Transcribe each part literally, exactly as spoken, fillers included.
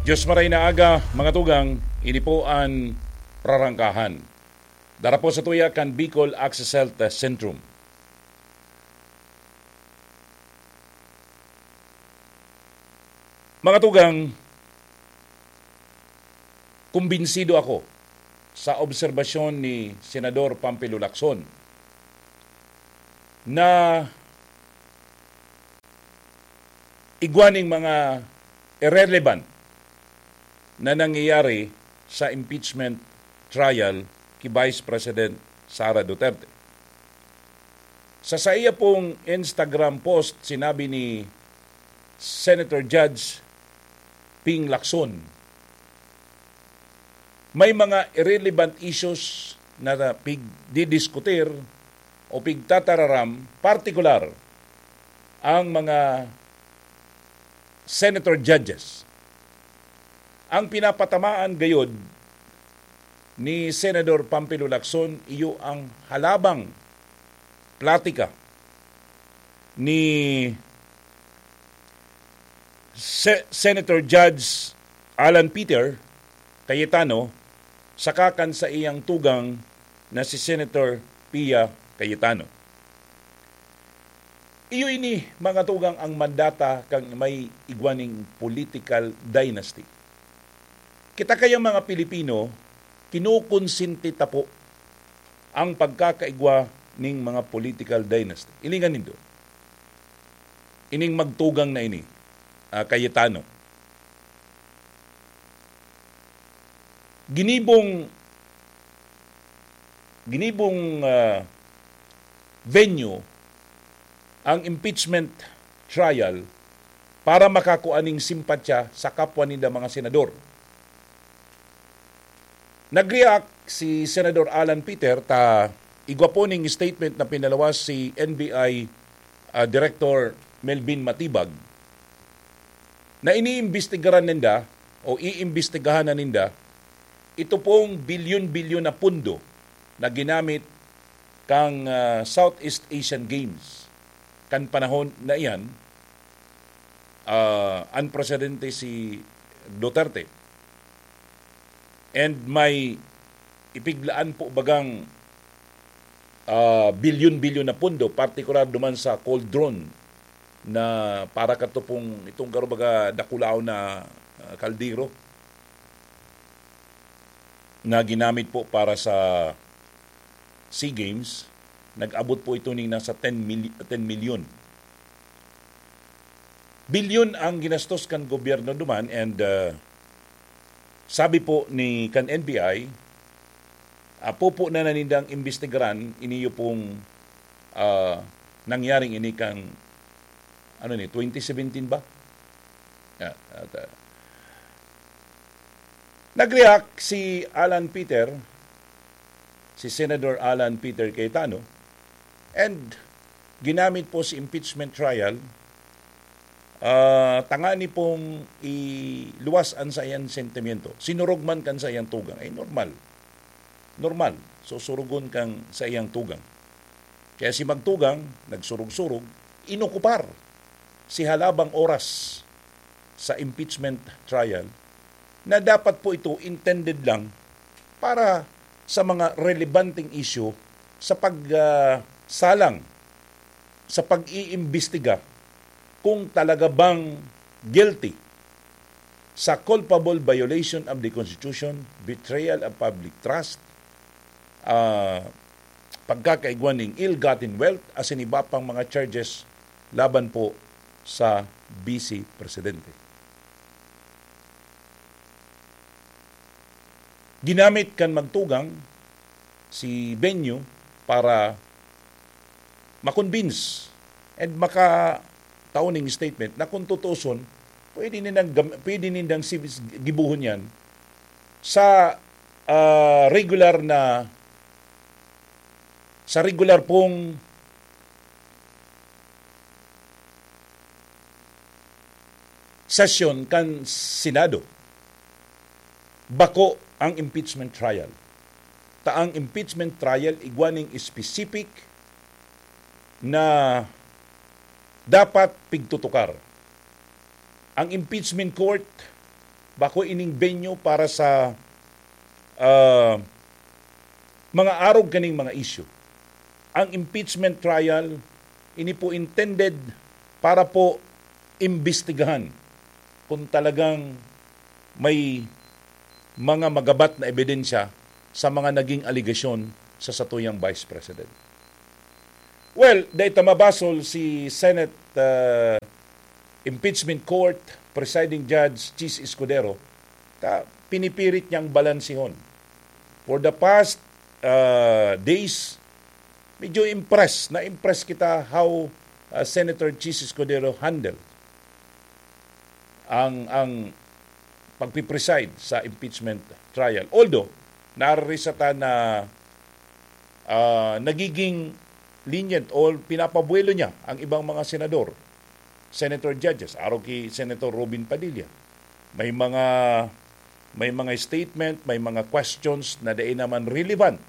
Diyos maray na aga, mga tugang, ini po an Prarangkahan. Dara po sa tuya kan Bicol Access Health Centrum. Mga tugang, kumbinsido ako sa obserbasyon ni Senador Pampilo Lacson na igwa ning mga irrelevant na nangyayari sa impeachment trial ki Vice President Sara Duterte. Sa saiya pong Instagram post, sinabi ni Senator Judge Ping Lacson, may mga irrelevant issues na pigdidiskutir o pigtatararam, partikular ang mga senator judges. Ang pinapatamaan gayod ni Senador Pampilo Lacson iyo ang halabang platika ni Se-, Senator Judge Alan Peter Cayetano saka kan saiyang tugang na si Senator Pia Cayetano. Iyo ini, mga tugang, ang mandata kan may igwa ning political dynasty. Kita kayang mga Pilipino, kinukonsente ta po ang pagkakaigwa ning mga political dynasty. Hilingan nindo, ining magtugang na ini, ah, Cayetano. Ginibong, ginibong, ah, venue ang impeachment trial para makakua ning simpatya sa kapwa ninda mga senador. Nag-react si Senador Alan Peter ta igwa po ning statement na pinaluwas si N B I, ah, Director Melvin Matibag na iniimbestigaran ninda o iimbestigahan na ninda ito pong bilyon-bilyon na pundo na ginamit kan, ah, Southeast Asian Games. Kan panahon na iyan, ah, an presidente si Duterte. And may ipiglaan po bagang, ah, bilyon-bilyon na pundo, partikular duman sa Cold Drone na para kato pong itong garo baga dakulaw na, ah, kaldero na ginamit po para sa SEA Games. Nag-abot po ito ning nasa ten mil-, ten milyon. Bilyon ang ginastos kan gobyerno duman and, ah, sabi po ni kan N B I, ah, pupo na na nindang imbestigaran iniyo pong, ah, nangyaring ini kan, ano ni, twenty seventeen ba? Ah, at, ah, nag-react si Alan Peter, si Senator Alan Peter Cayetano, and ginamit po si impeachment trial, ah, tangani pong iluwas an saiyang sentimiento. Sinurog man kan saiyang tugang, ay normal. Normal, susurugon kan saiyang tugang. Kaya si magtugang, nagsurog-surog, inokupar si halabang oras sa impeachment trial na dapat po ito intended lang para sa mga relevanteng issue sa pag, ah, salang, sa pag-iimbestiga kung talaga bang guilty sa culpable violation of the Constitution, betrayal of public trust, ah, pagkakaigwa ning ill-gotten wealth, asin iba pang mga charges laban po sa Vice Presidente. Ginamit kan magtugang si venue para ma-convince and makatao ning statement na kung tutuuson, pwede nindang gam-, pwede nindang si-, gibuhon yan sa, ah, regular na, sa regular pong sesyon kan Senado. Bako ang impeachment trial. Ta ang impeachment trial igwa ning specific na dapat pigtutukar. Ang impeachment court, bako ining venue para sa, ah, mga arog kaning mga issue. Ang impeachment trial, ini po intended para po imbestigahan kung talagang may mga magabat na ebidensya sa mga naging alegasyon sa satuyang Vice President. Well, dahil ta mabasol si Senate, ah, Impeachment Court Presiding Judge Chiz Escudero, ta pinipirit niyang balansihon. For the past, ah, days, medyo impress, na-impress kita how, ah, Senator Chiz Escudero handle ang, ang pagpipreside sa impeachment trial. Although, nararisa ta na, ah, nagiging lenient o pinapabuelo niya ang ibang mga senador, senator judges, arog ki Senator Robin Padilla. May mga, may mga statement, may mga questions na dai naman relevant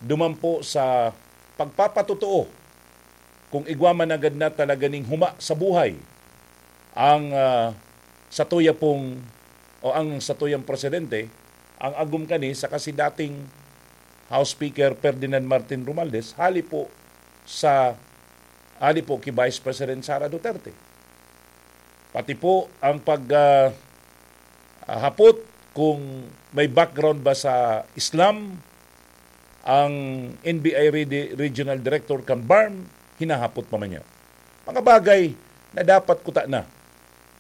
duman po sa pagpapatotoo kung igwa man nanggad na talaga ning huma sa buhay ang, ah, satuya pong, o ang satuyang presidente, ang agom kani saka si dating House Speaker Ferdinand Martin Romualdez, hali po sa, hali po ki Vice President Sara Duterte. Pati po ang pag, ah, ah, hapot kung may background ba sa Islam ang N B I Redi-, Regional Director kan BARMM, hinahapot pa man niya. Mga bagay na dapat kuta na,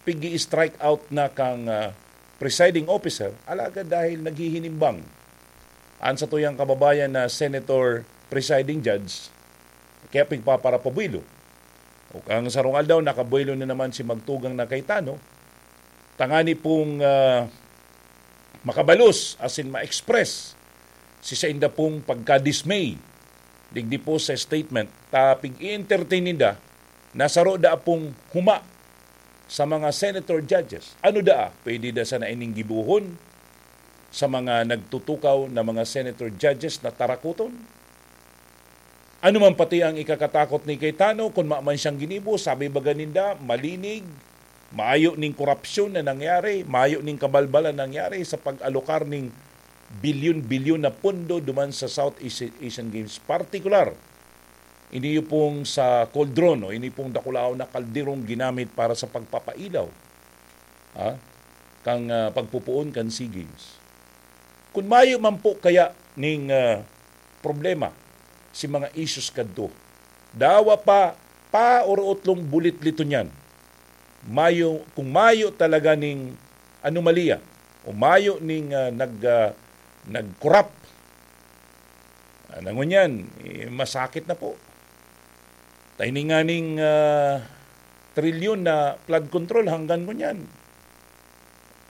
pigi-strike out na kang, ah, presiding officer, alagad dahil naghihinimbang an satuyang kababayan na Senator Presiding Judge, kaya pigpaparapabuelo. O kang sarong aldaw, nakabuelo na naman si Magtugang na Cayetano, tangani pong, ah, makabalos, asin ma-express si sainda pong pagka-dismay digdi po sa statement, ta pig-i-entertain ninda na saro daa pong huma sa mga senator judges. Ano daa? Pwede da sana ining gibohon sa mga nagtutukaw na mga senator judges na tarakoton? Ano man pati ang ikakatakot ni Cayetano, kun maman siyang ginibo, sabi baga ninda, malinig, mayo ning korupsyon na nangyari, mayo ning kabalbalan nangyari sa pag-alokar ning bilyon-bilyon na pondo duman sa South Asi-, Asian Games. Partikular, ini pong sa cauldron, o ini pong dakulaon na kalderong ginamit para sa pagpapailaw, ha, kang, ah, pagpupuon kan SEA Games. Kun mayo man po kaya ning, ah, problema si mga issues kadto, dawa pa, pa orotlong bulitliton yan. Mayo, kung mayo talaga ning anomalya o mayo ning, ah, nag, ah, nag-corrupt, ah, na ngunyan, eh, masakit na po. Ta ini nganing, ah, trilyon na flood control hanggan ngunyan,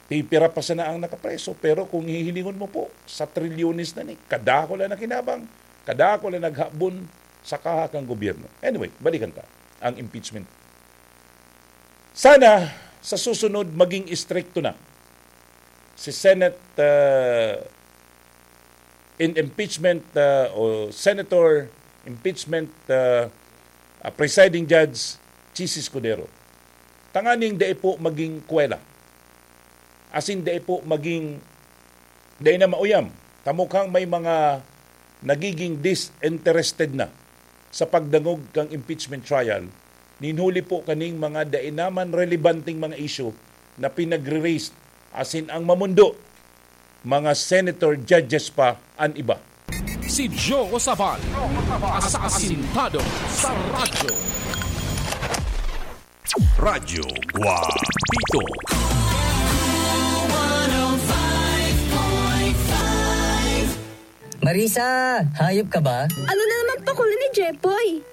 pipira pa sana ang nakapreso. Pero kung hihilingon mo po, sa trilyones na ni, kadakula na kinabang, kadakula naghabon sa kaha kan gobyerno. Anyway, balikan ta ang impeachment. Sana, sa susunod, maging istrikto na si Senate, ah, in impeachment, ah, o Senator impeachment, ah, ah, Presiding Judge Chiz Escudero. Tanganing dai po maging kwela. Asin dai po maging, dai na mauyam. Ta mukhang may mga nagiging disinterested na sa pagdangog kang impeachment trial, nin huli po kaning mga dai naman relebanteng mga isyu na pinagre-raise, asin ang mamundo, mga senator judges pa an iba. Si Joe Sabal, asasintado sa radyo. Radyo Guapito. Marisa, hayop ka ba? Ano na naman pakuli ni Jepoy?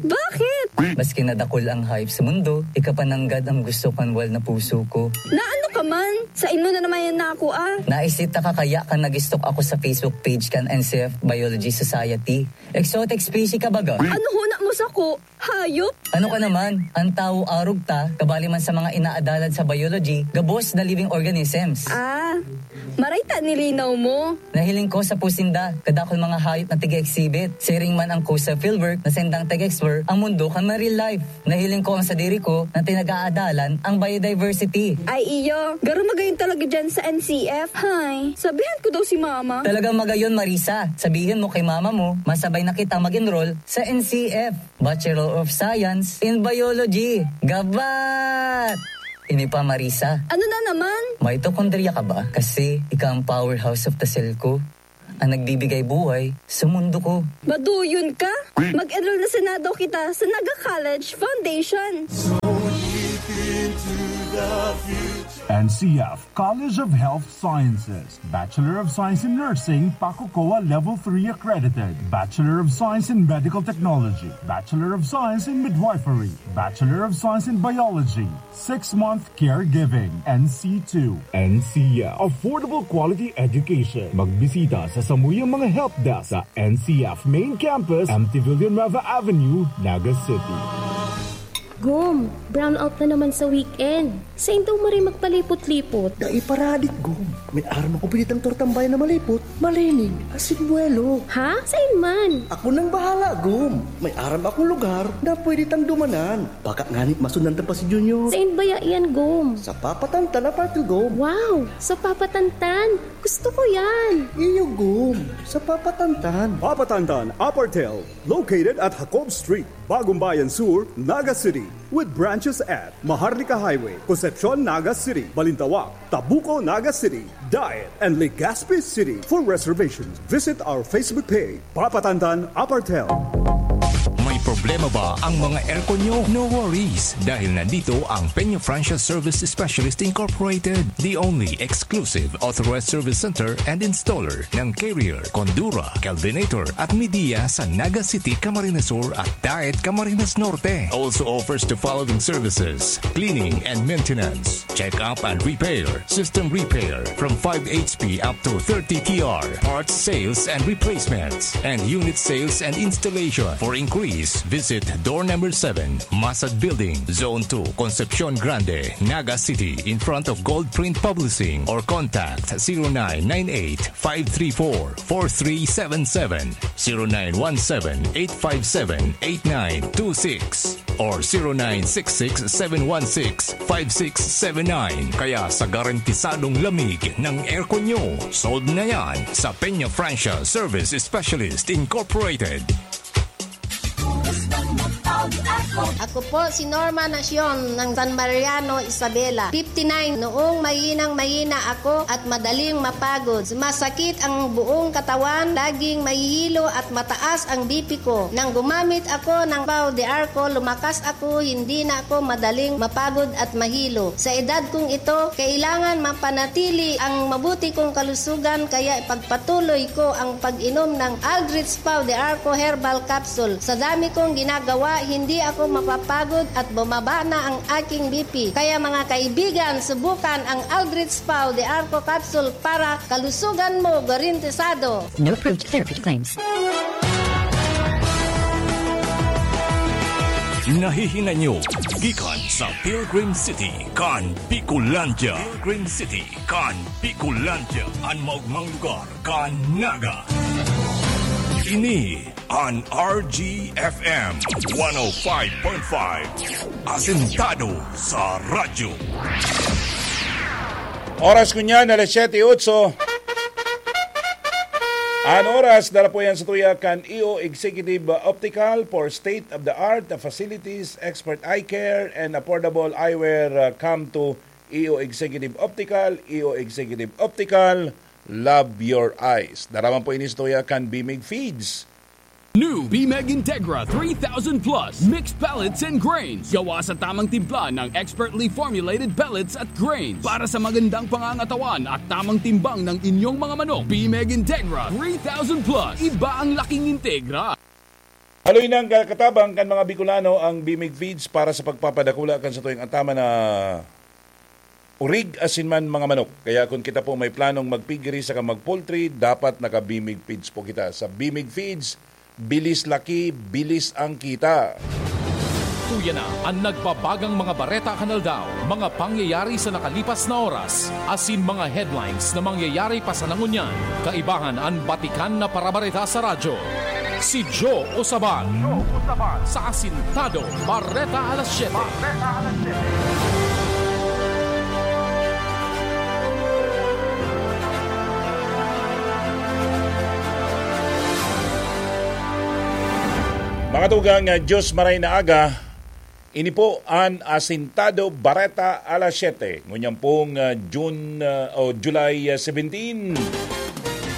Bakit? Maski na dakul ang hayop sa mundo, ika pa nanggad ang gusto kan wal na puso ko. Na ano ka man? Sa imo na naman yan na ako, ah. Naisita ka kaya kan nag-stalk ako sa Facebook page kan N C F Biology Society. Exotic species ka baga? Ano huna mo sako? Hayop? Ano ka naman? Ang tawo arog ta, kabali man sa mga inaadalad sa biology, gabos na living organisms. Ah, Maray ta nilinaw mo. Nahiling ko sa pusinda, kadakul mga hayop na tiga-exhibit. Siring man ang kusa fieldwork na sendang tiga-explore ang mundo kan marine life. Nahiling ko ang sadiri ko na tinag-aadalan ang biodiversity. Ay iyo, garo magayon talaga dyan sa N C F. Hay, sabihan ko daw si mama. Talagang magayon, Marisa. Sabihin mo kay mama mo, masabay na kita mag-enroll sa N C F, Bachelor of Science in Biology. Gabat! Ini pa, Marisa. Ano na naman? Mitochondria ka ba? Kasi ika ang powerhouse of the cell ko. Ang nagbibigay buhay sa mundo ko. Maduyon ka? Mag-enroll na sana daw kita sa Naga College Foundation. N C F College of Health Sciences, Bachelor of Science in Nursing, PACOCOA Level three accredited, Bachelor of Science in Medical Technology, Bachelor of Science in Midwifery, Bachelor of Science in Biology, Six-month caregiving, N C two. N C F. Affordable quality education. Magbisita sa samuyang mga help desk sa N C F Main Campus, M T Villanueva Avenue, Naga City. Gum, brownout na naman sa weekend. Sain daw maray magpalipot-lipot? Dai paradit, Gum. May aram ako pinitang tortang bayan na malipot, malining, asin buwelo. Ha? Sain man? Ako nang bahala, Gum. May aram akong lugar na pwede tang dumanan. Baka ngani masundan ta pa si Junior. Sain baya iyan, Gom? Sa Papa Tantan, Apartel, Gom. Wow! Sa Papa Tantan! Gusto ko yan! Iyo, Gom. Sa Papa Tantan. Papa Tantan, Apartel, located at Jacob Street, Bagumbayan Sur, Naga City, with branches at Maharlika Highway, Concepcion, Naga City, Balintawak, Tabuco, Naga City, Daet, and Legazpi City. For reservations, visit our Facebook page, Papa Tantan Apartel. May problema ba ang mga aircon nyo? No worries, dahil nandito ang Peña Francia Service Specialist Incorporated, the only exclusive authorized service center and installer ng Carrier, Condura, Kelvinator at Midea sa Naga City, Camarines Sur at Daet, Camarines Norte. Also offers the following services: cleaning and maintenance, check-up and repair, system repair from five H P up to thirty T R, parts sales and replacements, and unit sales and installation. For inquiries, visit door number seven, Masad Building, Zone two, Concepcion Grande, Naga City, in front of Gold Print Publishing, or contact zero nine nine eight, five three four, four three seven seven, zero nine one seven, eight five seven, eight nine two six, or zero nine six six, seven one six, five six seven nine. Kaya sa garantisadong lamig ng aircon nyo, sold na yan sa Peña Francia Service Specialist Incorporated. Ako po si Norma Nacion ng San Mariano, Isabela, fifty-nine. Noong mahinang-mahina ako at madaling mapagod, sumasakit ang buong katawan, laging mahihilo at mataas ang B P ko. Nang gumamit ako ng Pau de Arco, lumakas ako, hindi na ako madaling mapagod at mahilo. Sa edad kong ito, kailangan mapanatili ang mabuti kong kalusugan, kaya ipagpatuloy ko ang pag-inom ng Aldrich Pau de Arco Herbal Capsule. Sa dami kong ginagawa, hindi ako mapapagod at bumaba na ang aking B P. Kaya mga kaibigan, subukan ang Aldrich Pau de Arco Capsule para kalusugan mo garantisado. No approved therapy claims. Nahihinanyo gikan sa Pilgrim City kan Bicolandia. Pilgrim City kan Bicolandia, an maogmang lugar kan Naga. Ini an R G F M one oh five point five, asentado sa radyo. Oras ko niyan, alas siyete otso. An oras, dara po yan sa tuya kan E O Executive Optical for state-of-the-art facilities, expert eye care, and affordable eyewear. Uh, come to E O Executive Optical, E O Executive Optical, love your eyes. Dara man po ini sa tuya kan Bimig Feeds. New Bimeg Integra three thousand plus mixed pellets and grains. Gawa sa tamang timpla ng expertly formulated pellets at grains. Para sa magandang pangangatawan at tamang timbang ng inyong mga manok, Bimeg Integra three thousand plus. Iba ang laking Integra. Haloy nang kakatabang kan mga Bicolano ang Bimig Feeds para sa pagpapadakula kan satuyang ataman na urig asin man mga manok. Kaya kung kita po may planong magpiggery saka mag-poultry, dapat naka-Bimig Feeds po kita. Sa Bimig Feeds, bilis laki, bilis ang kita. Tuya na an nagbabagang mga bareta kan aldaw, mga pangyayari sa nakalipas na oras, asin mga headlines na mangyayari pa sana ngunyan. Kaibahan an batikan na parabareta sa radyo. Si Joe Usaban. Sa Asintado Bareta Alas Siyete. Mga tugang, ah, Diyos maray na aga, ini po an Asintado Bareta Alas Siyete, ngunyan pong, ah, June, ah, o July, ah, seventeen.